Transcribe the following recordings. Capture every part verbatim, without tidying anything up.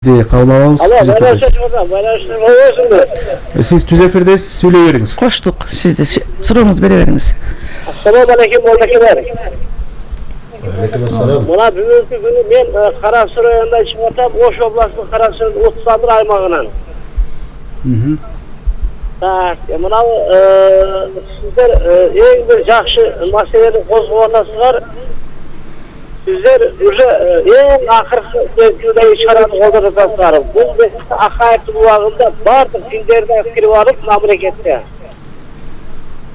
Кабыл алабыз. Сиз түз эфирдесиз, сүйлөй бериңиз. Коштук, сиз да сурооңузду бере бериңиз. Ассаламу алейкум, молдакилер. Алейкум ассалам. Мына бүгүнкү күнү мен Кара Суу районунан чыгып атам, Ош областынын Кара Суу Утсандыр аймагынан. Мм. Так, мына сиздер эң бир жакшы маселени козгоп атасыздар. Sizler уже en akırkı mevzudaki çaranı koldanırsınlar. Bu mesele akayet bulağında bardır fillerden kirip alıp memlekette.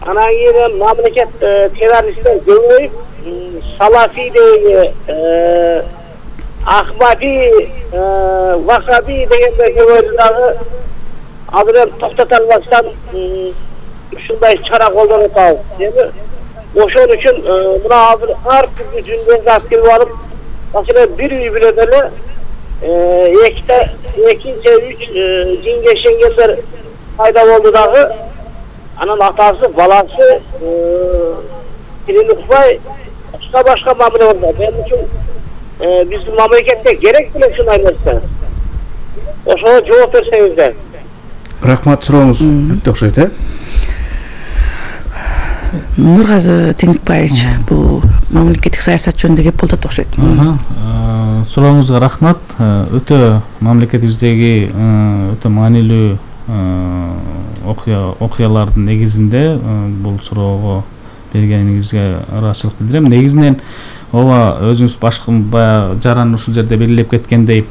Ana yine memleket teröristler görüp Salafi diye Ahmadi Vakabi degenler görüldüğü adını toktatalmaktan şunday çara koldanırsınlar. Değil mi? Oşun üçün buna hazır her türlü cümleyi askeri alıp mesela bir üy bileleri ekte, ekince üç cin geçengeller fayda oldu dağı anın atası, balası dilini kufay başka başka mamule oldu. Benim için bizim memlekette gerek bile şunu ayırsa. Oşuna cevap verseniz de. Rahmat, сурооңуз бүттү окшойт, э? Нургазы Теңикбаевич, бул мамлекеттик саясат жөнүндө кеп болот окшойт. Сурооңузга рахмат. Өтө мамлекетибиздеги өтө маанилүү окуялардын негизинде бул суроого бергениңизге ыраазычылык билдирем. Негизинен ооба өзүңүз башкы баягы жаран ушул жерде белгилеп кеткендей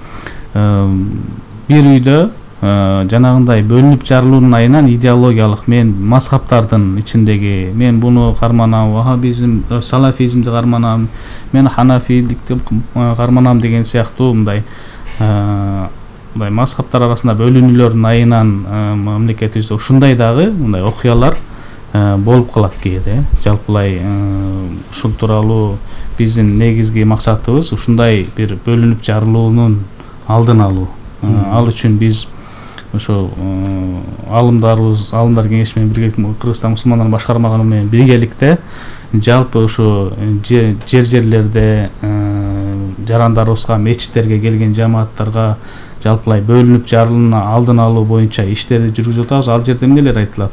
бир үйдө жанагындай бөлүнүп жарылуунун айынан идеологиялык мен мазхабтардын ичиндеги мен буну карманам, вахабизм, салафизмди карманам, мен ханафиликти карманам деген сыяктуу мындай мындай мазхабтар арасында бөлүнүүлөрдүн айынан мамлекетибизде ушундай дагы мындай окуялар болуп калат кээде. Жалпылай ушул тууралуу биздин негизги максатыбыз ушундай бир бөлүнүп жарылуунун алдын алуу. Ал үчүн биз ошо алымдарыбыз, алымдар кеңеши менен биргеликте Кыргызстан мусулмандар башкармаганы менен биргеликте жалпы ошо жер жерлерде жарандарыбызга, мечиттерге келген жамааттарга жалпылай бөлүнүп жарылуунун алдын алуу боюнча иштерди жүргүзүп атабыз. Ал жерде эмнелер айтылат?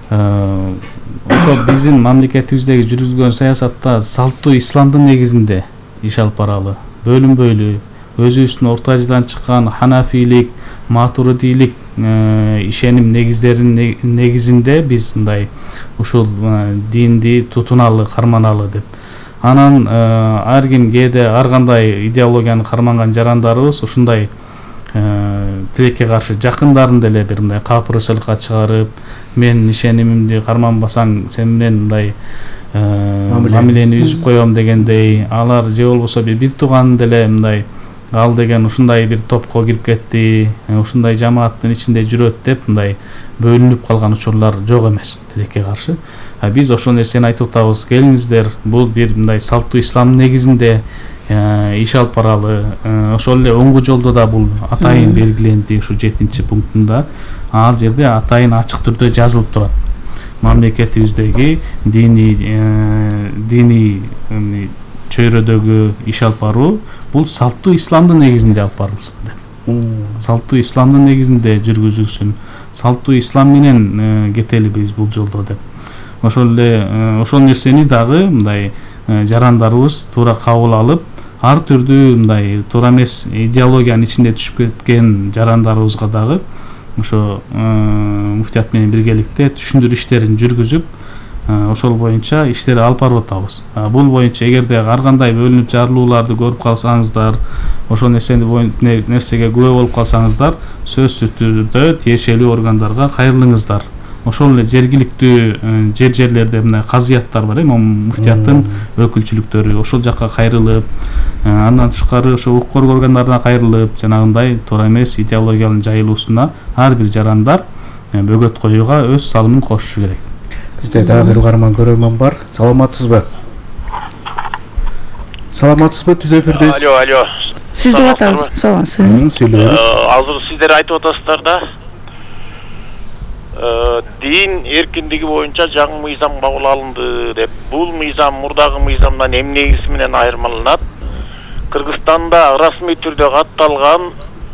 Ошо биздин мамлекетибиздеги жүргүзгөн саясатта салттуу исламдын негизинде иш алып баралы. Бөлүнбөйлү, өзүбүздүн орто ажыдан чыккан ханафилик, матуридилик ишеним негиздеринин негизинде биз мындай ушул динди тутуналы, карманалы деп. Анан ар ким кээде ар кандай идеологияны карманган жарандарыбыз ушундай тилекке каршы жакындарын деле бир мындай капырычылыкка чыгарып, мен ишенимимди карманбасаң сен менен мындай мамилени үзүп коем дегендей, алар же болбосо бир тууган деле мындай ал деген ушундай бир топко кирип кетти, ушундай жамааттын ичинде жүрөт деп мындай бөлүнүп калган учурлар жок эмес тилекке каршы. Биз ошол нерсени айтып атабыз. Келиңиздер, бул бир мындай салттуу ислам негизинде иш алып баралы. Ошол эле оңгу жолдо да бул атайын белгиленди ушу жетинчи пунктунда. Ал жерде атайын ачык түрдө жазылып турат. Мамлекетибиздеги дини дини чөйрөдөгү иш алып баруу бул салттуу исламдын негизинде алып барылсын деп. Салттуу исламдын негизинде жүргүзүлсүн. Салттуу ислам менен кетели биз бул жолдо деп. Ошол эле ошол нерсени дагы мындай жарандарыбыз туура кабыл алып, ар түрдүү мындай туура эмес идеологиянын ичинде түшүп кеткен жарандарыбызга дагы ошо муфтият менен биргеликте түшүндүрүү иштерин жүргүзүп, ошол боюнча иштерди алып барып атабыз. Бул боюнча эгерде ар кандай бөлүнүп жарылууларды көрүп калсаңыздар, ошол нерсени нерсеге күбө болуп калсаңыздар, сөзсүз түрдө тиешелүү органдарга кайрылыңыздар. Ошол эле жергиликтүү жер жерлерде мындай казыяттар бар, эми муфтияттын өкүлчүлүктөрү ошол жакка кайрылып, андан тышкары ошо укук коргоо органдарына кайрылып, жанагындай туура эмес идеологиянын жайылуусуна ар бир жарандар бөгөт коюуга өз салымын кошушу керек. Бизде дагы бир угарман көрөрмөн бар. Саламатсызбы? Саламатсызбы? Түз эфирдесиз. Алло, алло. Сизди атабыз. Саламатсызбы? Сүйлөйбүз. Азыр сиздер айтып атасыздар да. Дин эркиндиги боюнча жаңы мыйзам кабыл алынды деп. Бул мыйзам мурдагы мыйзамдан эмне негизи менен айырмаланат? Кыргызстанда расмий түрдө катталган